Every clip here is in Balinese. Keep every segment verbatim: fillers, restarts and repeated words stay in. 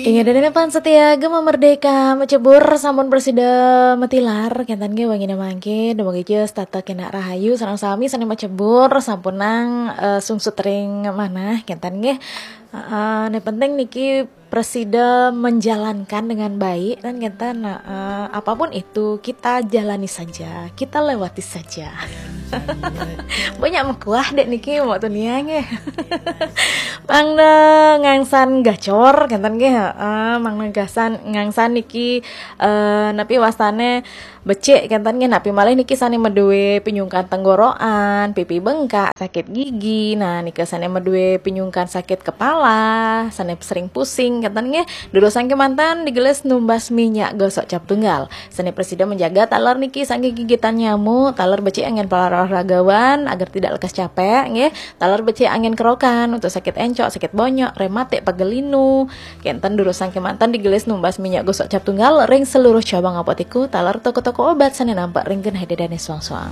Inggih dene pan setia Gema Merdeka, macebur sampun prasida matilar, kenten nggih wangine mangke, dumugi setata kena rahayu, sareng sami sane macebur sampunang eh, sungsut ring manah, kenten nggih. Heeh, ne penting niki prasida menjalankan dengan baik, kan kenten. Heeh, apapun itu kita jalani saja, kita lewati saja. Banyak mekuah dek niki waktu nia nggih. Mangda ngangsan gacor, kenten nggih, heeh, mangda gasan ngangsan niki eh, napi wastane becik, kenten nggih, napi malih niki sane madue pinyungkan tenggorokan, pipi bengkak, sakit gigi, nah nika sane madue pinyungkan sakit kepala, sane sering pusing, kenten nggih, durusang kemanten digelis numbas minyak gosok cap tunggal. Sane prasida menjaga taler niki saking gigitan nyamuk, taler becik anggen para olahragawan agar tidak lekas capek nggih. Taler becik anggen kerokan untuk sakit encok, sakit bonyok, rematik, pegel linu. Kenten durusang kemanten digelis numbas minyak gosok cap tunggal ring seluruh cabang apotiku, taler toko-toko obat sane nampak ring genah dedane suang-suang.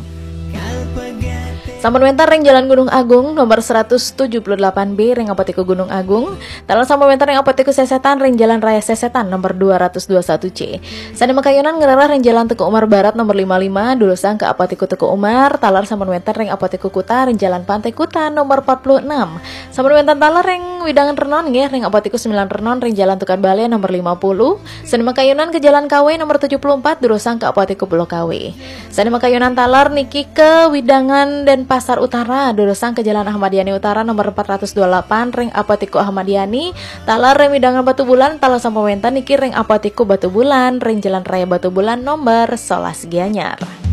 Sampun wenten ring Jalan Gunung Agung nomor seratus tujuh puluh delapan B ring Apotiku Gunung Agung, taler sampun wenten ring Apotiku Sesetan ring Jalan Raya Sesetan nomor dua ratus dua satu C. Sane makayunan ngrereh ring Jalan Teuku Umar Barat nomor lima lima, durusang ke Apotiku Teuku Umar, taler sampun wenten ring Apotiku Kuta ring Jalan Pantai Kuta nomor empat puluh enam. Sampun wenten taler ring wewidangan Renon nggih, ring Apotiku sembilan Renon ring Jalan Tukad Bale nomor lima puluh. Sane makayunan ke Jalan Kawe nomor tujuh puluh empat, durusang ke Apotiku Pulau Kawe. Sane makayunan taler niki ke wewidangan Denpasar Utara, durusang ke Jalan Ahmad Yani Utara nomor empat ratus dua puluh delapan ring Apotiku Ahmad Yani, taler ring wewidangan Batubulan, taler sampun wenten niki ring Apotiku Batubulan ring Jalan Raya Batubulan nomor sebelas Gianyar.